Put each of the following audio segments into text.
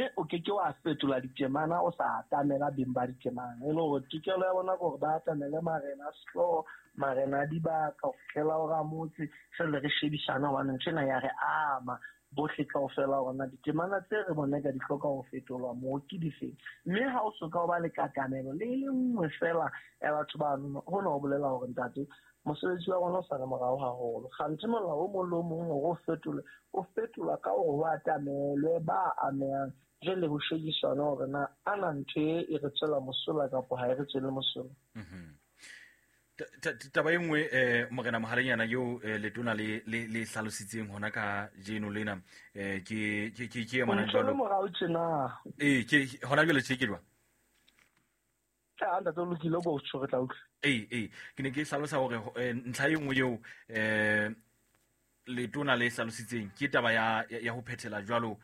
Mme o ke ke wa fetola ditemana o sa atamela beng ba ditemana. E le hore tokelo ya bona ke hore ba atamele marena a sehlooho, marena a dibaka, ho fihlela ho ramotse, jwale re shebisane hobane ntho ena ya re ama bohle kaofela hore na ditemana tse re bona ka di hloka ho fetolwa moo ke difeng. Mme ha o soka o ba le katamelo le e le nngwe feela ya batho bano, hona ho bolela hore ntate, mosebetsi wa rona o sa le morao haholo. Kganthe molao o mong le o mong hore o fetolwe, o fetolwa ka hore ho atamelwe ba amehang, jwale ho shebiswane hore na ana ntho e e re tswela mosola kapa ha e re tswele mosola. Taba e nngwe morena Mohalenyana eo letona le le le hlalositseng hona ka jeno lena ke ke ke ke e jwalo morao tjena. Ee, ke hona jwale tje ke jwang? A ntate o lokile ko tjho re tla utlwa. Ee, ke ne ke hlalosa hore ntlha e nngwe eo letona le hlalositseng ke taba ya ya ho phethela jwalo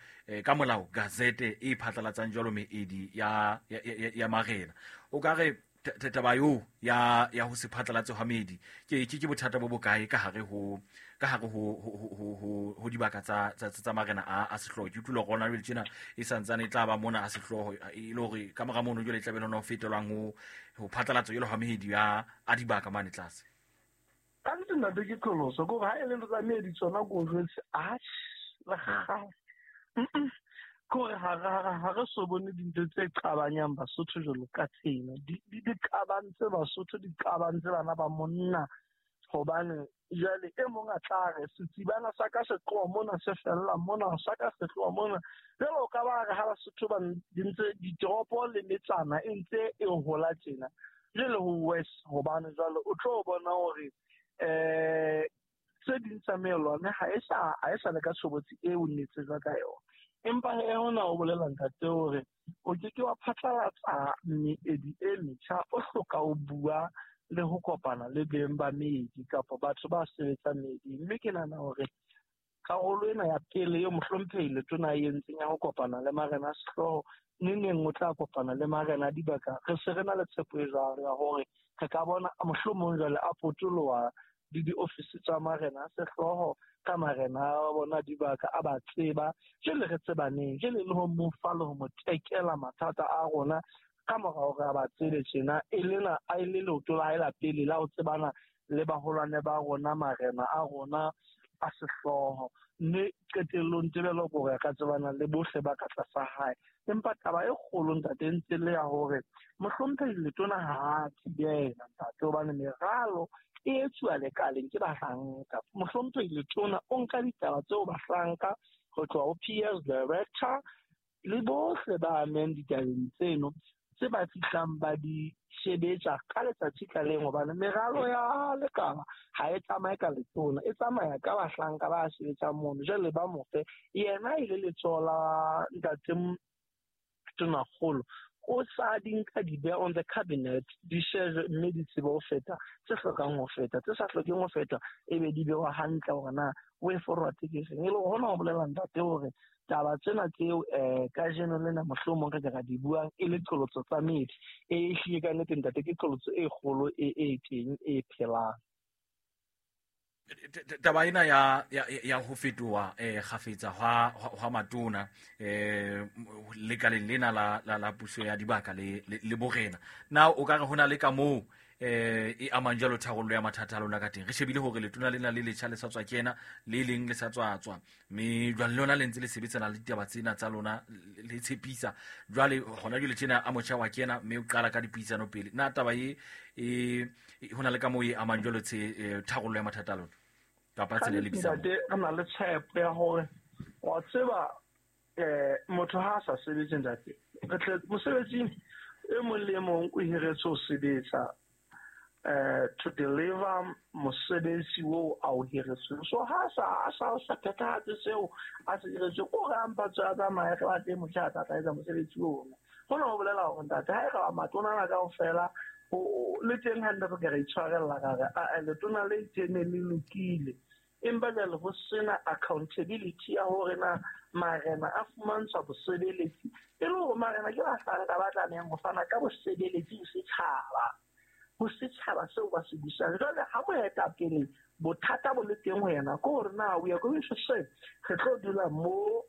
ka molao gazete e phatlalatsang jwalo meedi ya ya marena. O ka re taba eo ya ya ho se phatlalatse hwa meedi ke ke ke bothata bo bokae ka hare ho ka hare ho ho ho ho dibaka tsa tsa tsa marena a a sehlooho? Ke utlwile hore hona jwale tjena e santsane e tla ba mona a sehlooho, e le hore ka mora mono jwale e tla be le hona ho fetelwang ho ho phatlalatso jwalo hwa meedi ya a dibaka mane tlase. Ka nnete ntate ke qholoso, ke hore ha e le ntho tsa meedi tsona ko jwetse, atjhe, le kgale. Ke hore ha re so bone dintho tse qabanyang Basotho jwalo ka tsena. Di qabantse Basotho, di qabantse bana ba monna. Hobane jwale e mong a tla re setsibana sa ka se tloha mona se fella mona, sa ka se tloha mona. Jwale o ka ba re ha Basotho ba di ntse ditoropo le metsana e ntse e hola tjena. Jwale ho worse hobane jwale o tlo bona hore tse ding tsa meelwane ha e sa ha e sa le ka tshobotsi eo ne tsejwa ka yona. Empa he hona o bolela ntate hore o ke ke wa phatlalatsa meedi e metjha, o hloka ho bua le ho kopana le beng ba meedi kapa batho ba sebetsang meeding. Mme ke nahana hore karolo ena ya pele eo mohlomphehi letona e entseng ya ho kopana le marena a sehlooho, neneng o tla kopana le marena a dibaka, re se re na le tshepo e jwalo ya hore re ka bona mohlomong jwale a potoloha le diofisi tsa marena a sehlooho ka marena a bona dibaka a ba tseba, jwale re tsebaneng, jwale le ho mo fa le ho mo tekela mathata a rona ka mora hore a ba tsebe tjena, e lena a e le leoto la hae la pele la ho tsebana le baholwane ba rona, marena a rona a sehlooho. Mme qetellong tebello ke hore a ka tsebana le bohle ba ka tlasa hae. Empa taba e kgolo ntate e ntse le ya hore mohlomphehi letona ha a thibela ntate, hobane meralo e etsuwa lekaleng ke bahlanka. Mohlomphehi letona o nka ditaba tseo bahlanka ho tloha ho PS director le bohle ba amehang ditabeng tseno tse ba fihlang ba di sebetsa ka letsatsi ka leng, hobane meralo ya lekala ha e tsamaye ka letona, e tsamaya ka bahlanka ba sebetsang mono. Jwale ba mo fe yena e le letsoho la ntate Tonakgolo, o sa di nka di beha on the cabinet, di shejwe mme di tsebe ho feta tse hlokang ho feta, tse sa hlokeng ho feta e be di bewa hantle hore na way forward ke eng. E le hore hona ho bolela ntate hore taba tsena tseo kajeno lena mohlomong re ka ra di buang e le qholotso tsa meedi, e ehlile ka nnete ntate ke qholotso e kgolo e e teng e phelang. Taba ena ya ya ya ho fetoha kgafetsa hwa hwa matona lekaleng lena la la la puso ya dibaka le le borena, na o ka re hona le ka moo e amang jwalo tharollo ya mathata a lona ka teng? Re shebile hore letona lena le letjha le sa tswa kena, le leng le sa tswa tswa, mme jwale lona le ntse le sebetsana le ditaba tsena tsa lona le tshepisa. Jwale hona jwale tjena a motjha wa kena mme o qala ka dipuisano pele, na taba e e hona le ka moo e amang jwalo tse tharollo ya mathata a lona kapa tsela e lebisang? Ntate, re na le tshepo ya hore wa tseba motho ha a sa sebetse ntate, re tle mosebetsing e mong le e mong o hiretswe ho sebetsa to deliver mosebetsi oo a o hiretsweng. So ha sa a sa sa phethahatse seo a se hiretsweng, o re a mpa tswe a tsamaye, re batle motjha a tla tla etsa mosebetsi ona. Hona ho bolela hore ntate ha e re matona ana kaofela le teng hantle re ka re itshwarella ra re a letona le itseng ne le lokile, empa jwale ho sena accountability ya hore na marena a fumantshwa bosebeletsi, e le hore marena ke bahlanka ba tlamehang ho fana ka bosebeletsi ho setjhaba, ho setjhaba seo ba se busang. Jwale ha moetapele bothata bo le teng ho yena, ke hore na we are going to say re tlo dula mo